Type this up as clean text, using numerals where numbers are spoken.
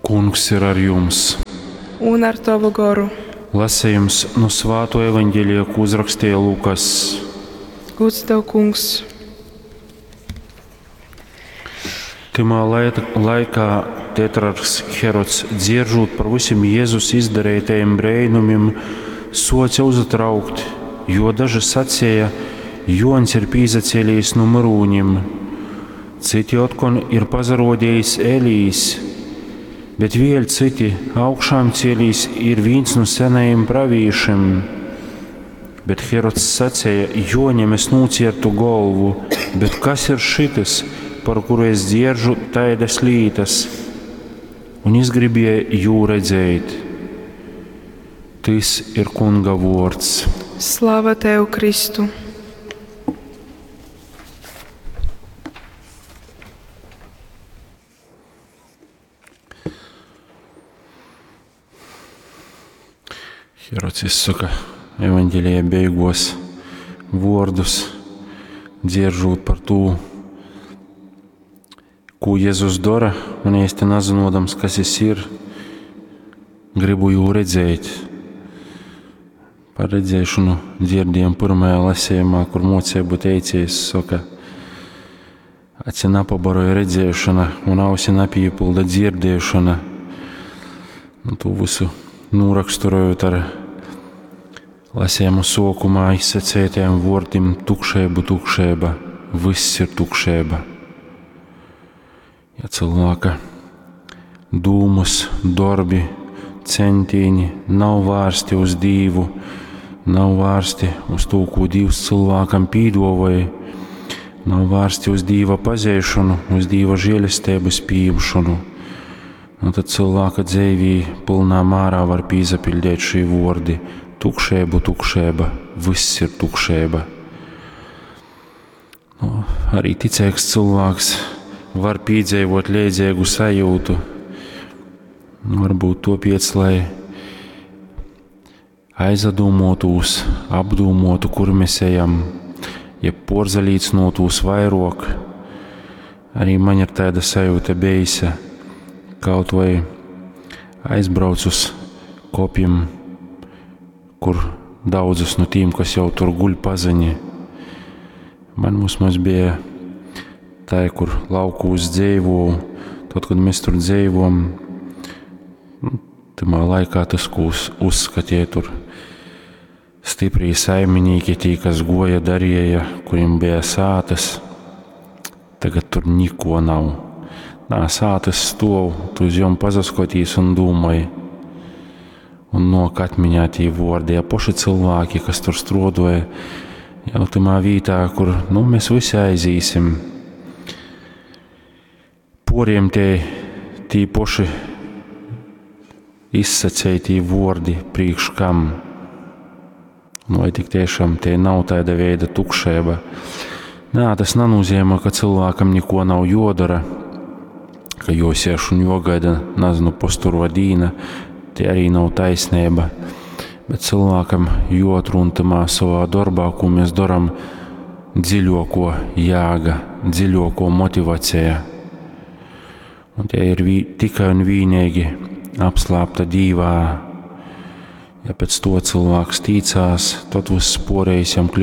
Kungs ir ar jums! Un ar tovu goru. Lasījums no Svāto evaņģēlija, ko uzrakstīja Lukas. Gods tev, kungs! Tymā laikā tetrarhs Herods, dzieržūt par visiem Jēzus izdarītajiem brēnumim, soca uzatraukt, jo daži sacīja, Jons ir pīzacēlījis no myrūņim, citi otkon ir pazarodījis Elijs, bet vēļ citi augšām cielīs ir viens no senajiem pravīšiem. Bet Herods sacīja, Joņam es nociertu golvu, bet kas ir šitas, par kuru es dzieržu taidas lītas? Un izgribēja jū redzēt. Tys ir Kunga vords. Slava tev, Kristu! Herods izsaka evaņģēlija beigos vārdus, dzieržot par to, ko Jēzus dara, un īsti nezinodams, kas jis ir, gribu jū redzēt. Par redzēšanu dzirdējām pirmajā lasījumā, kur mocību teicējs saka, aci napabaroja redzēšana un ausi napīpilda dzirdēšana. Nu, to visu noraksturojot ar lasījumu sokumā izsacētajiem vārdiem tukšēbu, tukšēba, viss ir tukšēba. Ja cilvēka dūmus, darbi, centieni nav vērsti uz Dievu, nav vērsti uz to, ko Dievs cilvēkam pīdovoja, nav vērsti uz Dieva pazīšanu, uz Dieva žēlestības pieņemšanu, nu tad cilvēka dzīvī pilnā mērā var pīzapildīt šī vordi tukšēbu, tukšēba, viss ir tukšēba. Nu, arī ticīgs cilvēks var piedzīvot liedzīgu sajūtu. Nu, varbūt to piec, lai aizdomotūs, apdūmotu, kur mēs ejam, ja porzalīcnotūs vairāk. Arī man ir tāda sajūta bijusi, kaut vai aizbrauc uz kopiem, kur daudzus no tiem, kas jau tur guļ paziņi. Man vismaz bija tā, kur laukūs dzīvoju, tad, kad mēs tur dzīvojam, nu, tamā laikā tas, ko uzskatīja tur stiprī saimnieki, tī, kas goja darīja, kuriem bija sātas, tagad tur niko nav. Nā, sātas stov, tu uz jom pazaskotīs un dūmai. Un nok atmiņā tī vordi, ja poši cilvēki, kas tur strodoja, jau tamā vītā, kur, nu, mēs visi aizīsim. Poriem tie, tī poši izsacētī vordi priekš kam. Nu, vai tik tiešām tie nav tāda veida tukšēba. Nā, tas nenozīmē, ka cilvēkam neko nav jodara, ka josieš un jogaida, nezinu, posturo dīna, tie arī nav taisnība. Bet cilvēkam joatrun tamā savā darbā, ko mēs daram, dziļāko jēga, dziļāko motivācija. Un tie ir tikai un vienīgi apslēpta dīvā. Ja pēc to cilvēks ticās, tad viss porējs jam kļūst.